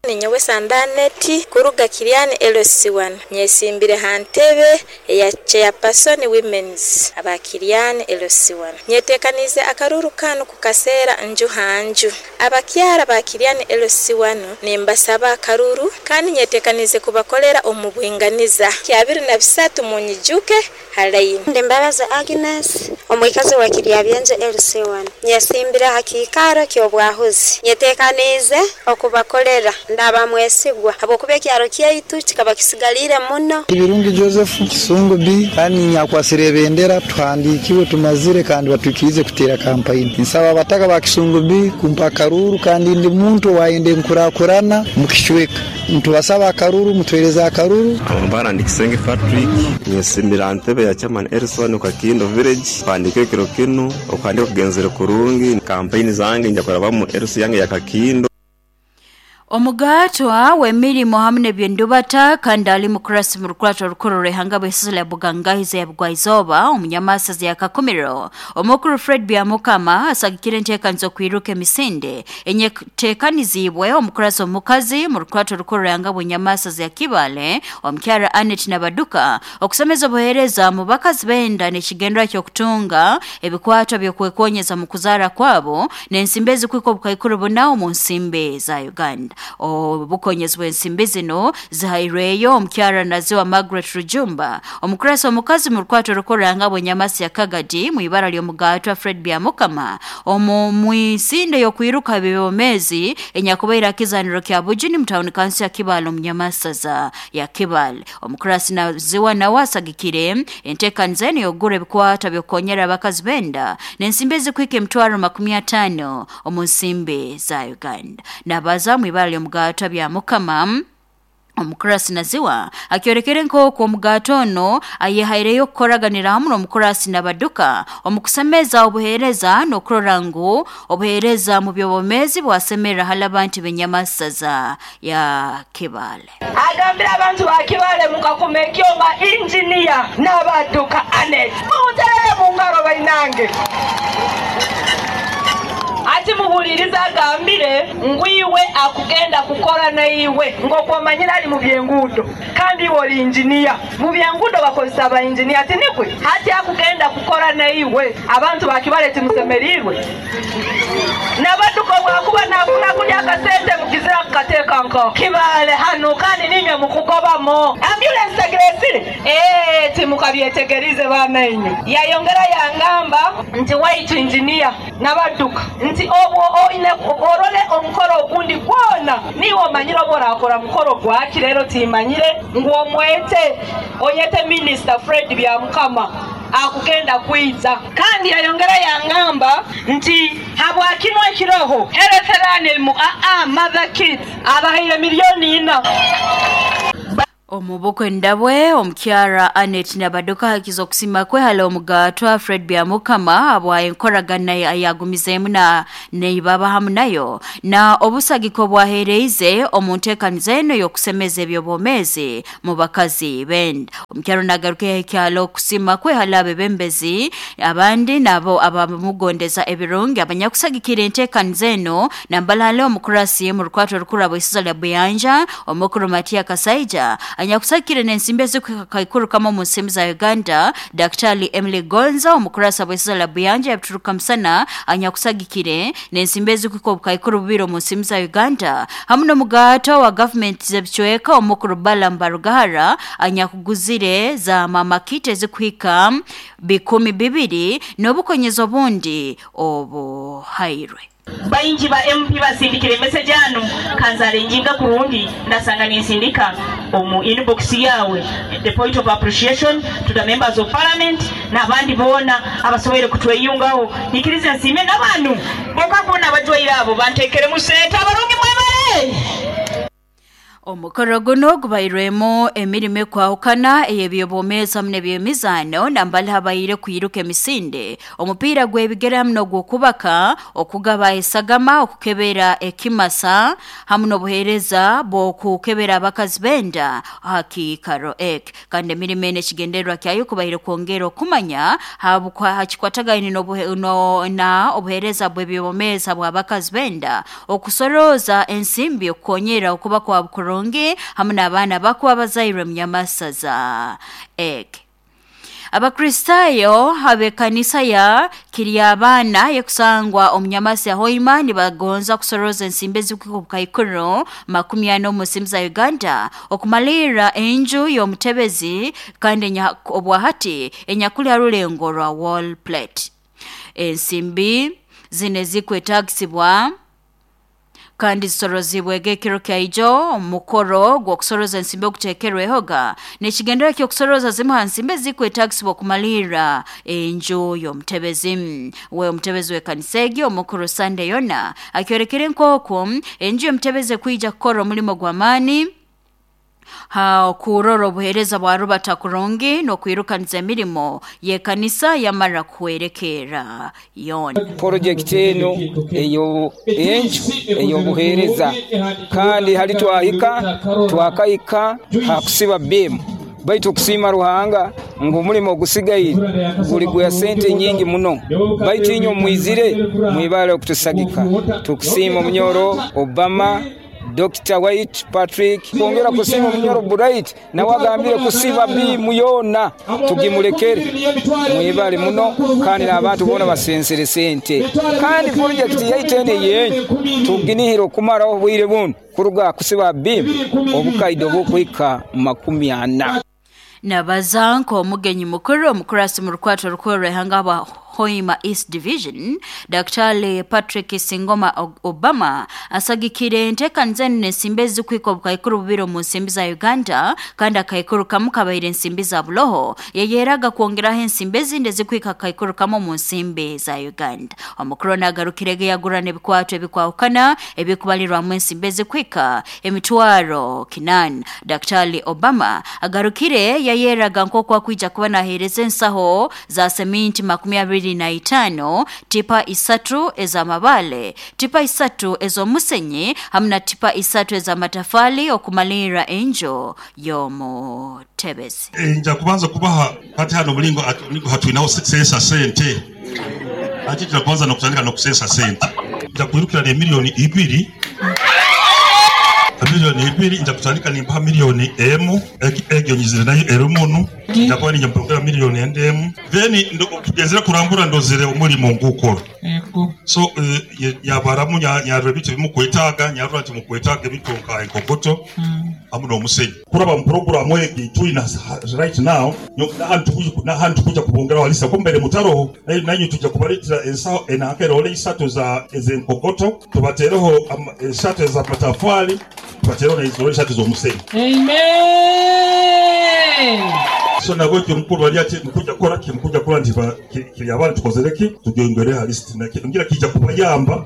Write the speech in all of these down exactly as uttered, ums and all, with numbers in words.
Ninyowe Sandaneti kuruga Kiriani L C one nyesimbire ha ntebe eya chairperson women's aba Kiriani L C one. Nyetekanize akaruru kanu kukaseera nju ha nju. Abakyara ba Kiriani L C one nimbasaba akaruru kandi nyetekanize kubakolera omu bwinganiza. Kyabiri na bisatu munyijuke halaini. Ndi Mbabazi Agnes, omwikazi wa Kiryabyenje L C one. Nyesimbire ha kiikaro ky'obwahuzi. Nyetekaniize okubakolera ndaba mwesigwa habwokuba ekyaro kyaitu kikaba kisigalire muno. Ibirungi Joseph Kisungu B kandi nyakwasire ebendera tuhandikiwe tumazire kandi batwikirize kutera kampeyini. Nsaba abataka ba Kisungu B kumpa akaruru kandi ndi muntu wayende nkurakurana mukishweka. Ntubasaba akaruru mutwereza akaruru. Amabara ndi Kisenge Patrick nyesimbira ntebe ya chairman Elson Kakindo village pandike kiro kinu okandika kugenzera kurungi kampeyini zange nja kurabamu Elson yange ya Kakindo. Omugatwa w'emirimo hamwe n'ebyendubata kandi ali mukurasi mu rukurato rukuru rw'ihanga bw'isizole ya Bugangahize ya Bugwaizoba omunyamasazi ya Kakumiro omukuru Fred Byamukama asagikire enteekanizo kwiruka emisinde enyeteekanizibwe omukurasi omukazi mu rukurato rukuru rw'ihanga bw'enyamasazi ya Kibale omukyara Anet Nabaduka okusomeza obuheereza mu bakazi benda n'ekigendwa ky'okutunga ebikwato by'okwekonyeza mu kuzaara kwabo n'ensimbi ezikwika obukaikuru buna omu nsimbi za Uganda. Obukonyezi bw'ensimbi zino zihairweyo omukyara Naziwa Margaret Rujumba omukurasi omukazi mu rukwato rukuranga bw'enyamasi ya Kagadi mu ibara ly'omugatwa Fred Byamukama omu mwisinde y'okwiruka bibomezi enyakubaira kizaniro kya Bujini mu town council ya Kibale omunyamasaza ya Kibale. Omukurasi Naziwa nawe asagikire enteekaniza eno y'okugura ebikwata by'okukonyera abakazi benda n'ensimbi ezikwika emitwaro makumi ataano omu nsimbi za Uganda. Nabaza mu ibara ly'omugatwa Byamukama omukurasi Naziwa akyorekere nk'oku omugato ono ayehaireyo kukoraganira hamwe n'omukurasi Nabaduka omukusemeza obuheereza n'okurora ngu obuheereza mu by'obwomeezi bwasemerera hali abantu b'enyamasaza ya Kibale. Agambira abantu ba Kibale mukakuma ekyoma injiniya Nabaduka Anet muterere mu ngaro bainange. Ati muhuliriza agambire ngwiwe akugenda kukora naiwe ngokwamanyira ali mu byengudo kandi iwe oli injiniya mu byengudo bakozesa aba injiniya ati nikwe hati akugenda kukora naiwe abantu bakibale timusemerirwe Nabaduka bwakuba nafuna kulya akasente mukizira kukateeka nko Kibale hano kandi ninywe mukugobamo ambulance tegeresire eh timukabyetegerize bamenye. Yayongera yangamba nti waitu injiniya Nabaduka nti obwo oine orole omukoro ogundi gwona niwe omanyire oba orakora mukoro gwaki rero timanyire ngu omwete oyete Minister Fred Byamukama akugenda kwiza. Kandi yayongera yangamba nti habwakinwa ekiroho hereterane mu aa mother kids abahaire milioni ina. Omubukwe ndabwe omukyara Anet Nabaduka hakiza okusima kwe hali omugatwa Fred Byamukama abwa enkoragana ayagumizeemu na neibaba hamu nayo na obusagiko bwahereize omu nteekaniza eno y'okusemeza eby'obwomeezi mu bakazi benda. Omukyara nagaruka ekyalo okusima kwe hali abebembezi abandi nabo abamugondeza ebirungi abanyakusagikira enteekaniza eno nambalale omukurasi mu rukwato rukuru bw'isiza lya Buyanja omukuru Matia Kasaija anyakusakire n'ensimbi ezikukaikuru kama mu nsimbi za Uganda Daktari Emily Gonza omukurasa bw'isiza lya Buyanja yabituruka musana anyakusagikire n'ensimbi ezikuka obukaikuru bubiri mu nsimbi za Uganda hamwe n'omugato wa government z'ebicweka omukuru Balaam Barugahara anyakuguzire za mama kit ezikuhika bikumi bibiri n'obukonyezo obundi obuhairwe. Baingi ba M P basindikire message anu kanzale njinga kurungi ndasanga ninsindika omu inbox yawe the point of appreciation to the members of parliament n'abandi bona abasoboire kutweyungaho nikirize nsime n'abantu boka kubona abajwaire abo bantekere mu sente abarungi mwebale. Omukoro guno gubairwemu emirimo ekwahukana ey'ebyobwomeezi hamwe n'ebyemizaano nambali habaire kwiruka emisinde omupiira gw'ebigere hamwe n'ogw'okubaka okugaba esagama okukebera ekimasa hamwe n'obuheereza bw'okukebera abakazi benda aha kiikaro eki kandi emirimo eno ekigendererwa kyayo kubaire kwongera okumanya hakikwatagaine na obuheereza bw'ebyobwomeezi bw'abakazi benda okusorooza ensimbi okukonyera okuba kwa bukurungi hamwe n'abaana bakuba bazairwe munyamasaza eki. Abakristayo ab'ekanisa ya Kiryabana yekusangwa omunyamasi ya Hoima nibagonza kusoroza ensimbi ezikuka obukaikuru makumi ana omu nsimbi za Uganda okumalirra enju y'omutebezi kandi obwahati enyakuli ha rulengo rwa wall plate. Ensimbi zino ezikwetagisibwa kandi zisorozibwege ekiro kyaijo omukoro gw'okusoroza ensimbi oguteekerwehoga n'ekigendera ky'okusoroza zimu ha nsimbi ezikwetagisibwa okumalirra enju y'omutebezi. We omutebezi w'ekanisa egi omukuru Sunday yona akyorekere nk'oku enju y'omutebezi ekwija kukora omulimo gw'amaani ha kurora obuheereza bwa rubata kurungi n'okwirukaniza emirimo y'ekanisa yamara kuhwerekeera yoona. Porojekiti eno eyo enju ey'obuheereza kandi hali twahika twakahika hakusiba bimu baitu okusiima Ruhanga ngu omulimo ogusigaire guli gwa sente nyingi muno baitu inywe mwizire mwibale okutusagika. Tukusiima omunyoro Obama, Doctor White Patrick, kwongera kusiima omunyoro Bright nawe agambire kusiba bimu yoona tugimulekere mwibale muno kandi n'abantu boona basensere sente kandi porojekiti yaitu eno eyenyu tuginihira okumaraho obwire buno kuruga kusiba bimu obukaide obukwika makumi ana. Nabaza nk'omugenyi mukuru omukurasi mu rukwato rukuru rw'ihanga bwa Hoima East Division Daktari Patrick Singoma Obama asagikire enteekaniza enu n'ensimbi ezikwika obukaikuru bubiri omu nsimbi za Uganda kandi akaikuru kamu kabaire ensimbi za buloho yeyeraga kwongeraho ensimbi ezindi ezikwika akaikuru kamu omu nsimbi za Uganda. Omukuru nagarukirege yagurana ebikwato ebikwahukana ebikubalirwamu ensimbi ezikwika emitwaro kinana. Daktari Obama agarukire yayeraga nk'oku akwija kuba naheereza ensaho za seminti makumi abiri na itaano, tipa isatu ez'amabale, tipa isatu ez'omusenyi hamwe na tipa isatu ez'amatafali okumalirra enju y'omutebezi. Nja kubanza kubaha kati hano mulingo hatwinaho sesa sente ati turakubanza nokutandika nokusesa sente nja kwirukira ne miliyoni ibiri miliyoni ibiri nja kutandika nimbaha miliyoni emu egyo nyizire nayo erumunu nja kuba ninja mpongera miliyoni endemu then tugenzere kurambura ndozere omulimo ngukora so uh, yabaramu nyarura ebintu bimukwetaaga nyarura nti mukwetaaga ebintu nka enkokoto hamwe n'omusenyi kuraba mu programu egi tulina right now nahantu tukuja kubongeraho alisa kumbere mutaroho nanyu tujja kubaletera ensaho enankerole isatu za ezenkokoto tubatereho esatu ez'amatafali tubatereho n'ezirole esatu z'omusenyi. Amen. So nabwo mukuru bali ati mukuja kora kimukuja kora nti kiri abantu tukozereki tugengere halist ngira kijja kubayamba.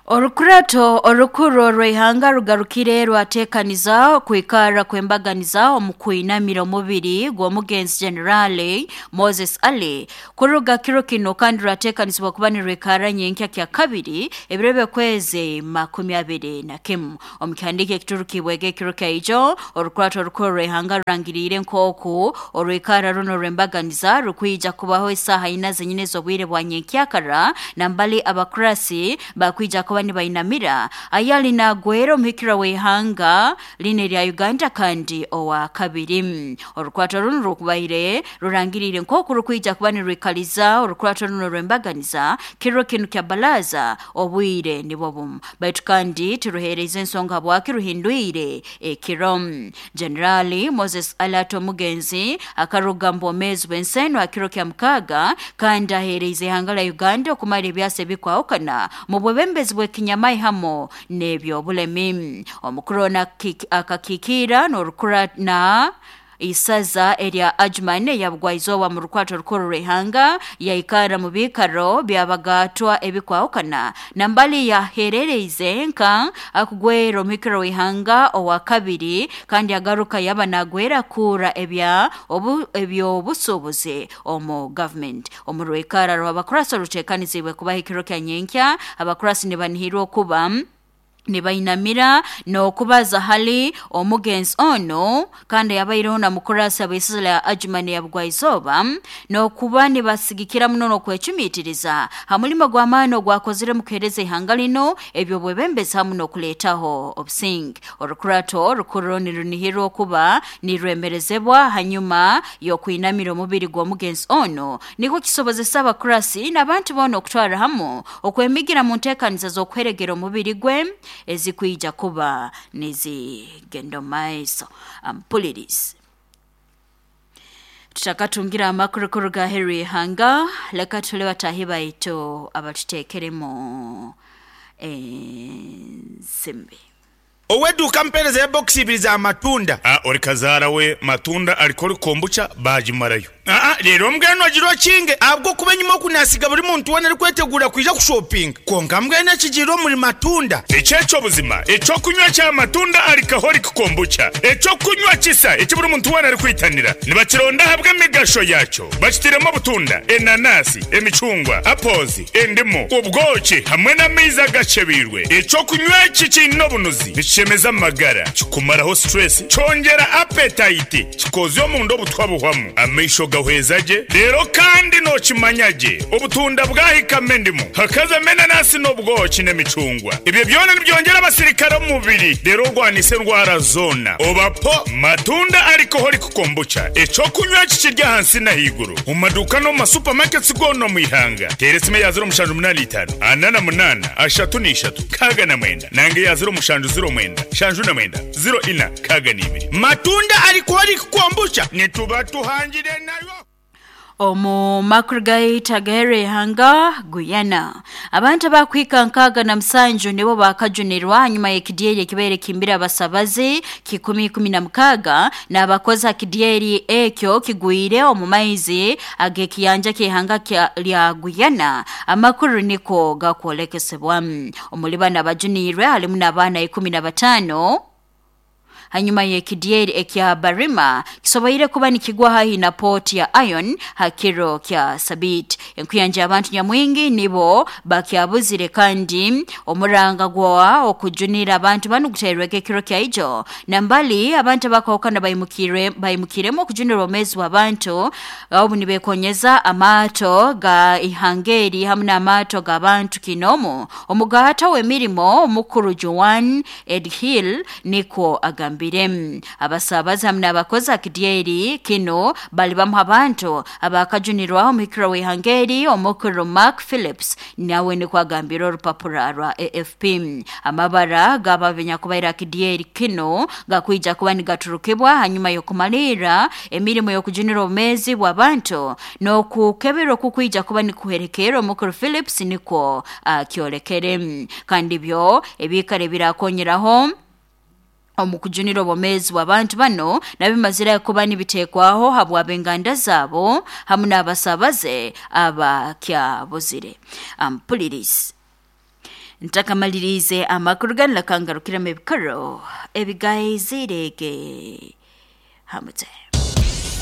Orukurato orukuru rw'ihanga rugarukire rwateekaniza kwikara kwembaganiza omu kwinamira omubiri gw'omugenzi Generale Moses Ali kuruga kiro kino kandi rwateekanizibwa kuba nirwikara nyenkya kya kabiri ebiro by'okwezi makumi abiri na kimu. Omu kihandiiko ekiturukibwege ekiro kyaijo orukurato orukuru rw'ihanga rurangiriire nk'oku orwikara runo rw'embaganiza rukwija kubaho esaaha ina zenyine ez'obwire bwa nyenkyakara nambali abakurasi bakwija kuba nibainamira ayali nagwera omuhikira w'ihanga line lya Uganda kandi owa kabiri. Orukwato runo rukubaire rurangirire nk'oku rukwija kuba nirwikaliza orukwato runo rw'embaganiza kiro kinu kya balaza obwire nibwo bumu baitu kandi tiruhereza ensonga bwaki ruhindwire ekiro. Generali Moses Alato Mugenzi akaruga mbomezi bw'enseno akiro kya mukaga kandi ahereza ihanga la Uganda okumara ebyasa ebikwahukana mu bwebembezi bw'ekinyamai hamo n'ebyobulemi. Omukuru akakikira n'orukura na Isaza erya Ajman yabugwaizoba mu rukwato rukuru rw'ihanga yaikara mu bikaro byabagatwa ebikwahukana nambali yaherereize nka akugwera omukiro w'ihanga owa kabiri kandi agaruka yaba nagwera kura ebya obu ebyobusuubuzi omu government. Omu rwikara rw'abakurasi oruteekanizibwe kubaha ekiro kya nyenkya, abakurasi nibanihirwa okuba nibainamira n'okubaza hali omugenzi ono kandi yabaireho na mukurasi ab'eisaza lya Ajman ya Bugwaizoba n'okuba nibasigikira muno n'okwecumiitiriza ha mulimo gw'amaani ogwakozire mu kuheereza ihanga lino eby'obwebembezi hamu n'okuleetaho obusinge. Orukurato rukuru nirunihirwa okuba nirwemerezebwa hanyuma y'okwinamira omubiri gw'omugenzi ono nikwo kisobozesa abakurasi n'abantu boona okutwara hamu okwemigira mu nteekaniza z'okuheregera omubiri gwe ezikwija kuba nizigenda maiso. Ampulirizi tutakatungira amakuru kuruga Henry Hanga, leka tule batahi baitu abatuteekeremu ensimbi. Oweduka mpereza ya box ibiri za matunda. Ah, ori kazara we matunda alikori kombucha bajimarayo. Ah, rero mbweno agiro kinge abwo kuba nyuma kunasiga buri muntu wona ari kwetegura kwija kushopping. Konka mbweno kigiro muri matunda. Echecho buzima, echo kunywa cha matunda alikahori kombucha. Echo kunywa kisa eki buri muntu wona ari kwitanira. Nibakironda habwe emigasho yacho. Bakitiremo butunda, enanasi, emicungwa, apozi, endimu, ubwoki hamwe n'amaizi agacebirwe. Echo kunywa iki kino bunuzi. Chemeza magara, kikumaraho stress, chongera appetite, kikozyo mundo butwabuhwamu, amaisho gahwezaje, rero kandi no kimanyaje, obutunda bwahika mendimu, hakaza menanasi n'obwoki n'emicungwa. Ibyo byona nibyongera abasirikare mu mubiri, rero rwanise ndwara zona. Obapo matunda alcoholic kombucha, echo kunywa kikirya hansi na higuru. Mu maduka no mu supermarkets gono mu ihanga. Teresime ya zero mushanju munani itanu, anana munana, ashatu n'ishatu, kaga na mwenda. Nange ya zero mushanju zero mwenda, shanju na mwenda, zero ina, kaga n'ibiri. Matunda alcoholic kombucha, nituba tuhangire nayo. Omu makuru gaita gahere hanga Guyana. Abantu abakwika nkaga na musanju nibo bakajunirwa hanyuma y'ekidyeri ekibaire kimbira abasabazi kikumi kumi na mukaga n'abakozi akidyeri ekyo kigwire omu maizi ag'ekiyanja ky'ihanga lya Guyana. Amakuru niko gakwolekesebwa. Omuli bano abajunirwe halimu n'abaana ikumi na bataano. Hanyuma y'ekidyeri ekya Barima kisoboire kuba nikigwa hahi na port ya Iron hakiro kya Sabit. Enkuyanja abantu nyamwingi nibo bakyabuzire kandi omuranga gwa okujunira abantu banu guterweke kiro kya ijo. Nambali abantu bakahukana bayimukire bayimukiremo okujunira omwezi w'abantu obu nibekonyeza amaato ga ihangeri hamwe n'amaato g'abantu kinomo. Omugata w'emirimo omukuru Joan Edhill niko agambire. Abasabazi hamwe n'abakozi akidyeri kino bali bamu abantu abakajunirwaho omukiro w'ihangeri omukuru Mark Phillips nawe niko agambira orupapura rwa A F P. Amabara g'ababenyakubaire akidyeri kino gakwija kuba nigaturukibwa hanyuma y'okumalira emirimo y'okujunira obumezi bw'abantu n'okukebera okukwija kuba nikuherekera omukuru Phillips niko akyolekere. Kandi byo ebikare birakonyeraho omukujunira obumezi bw'abantu bano nabimazira kuba nibitekwaho habw'abenganda zabo hamwe n'abasabaze abakyabuzire. Ampulirizi ntakamalirize amakuru ganlakangarukiramo ebikaro ebigaizirege hamute.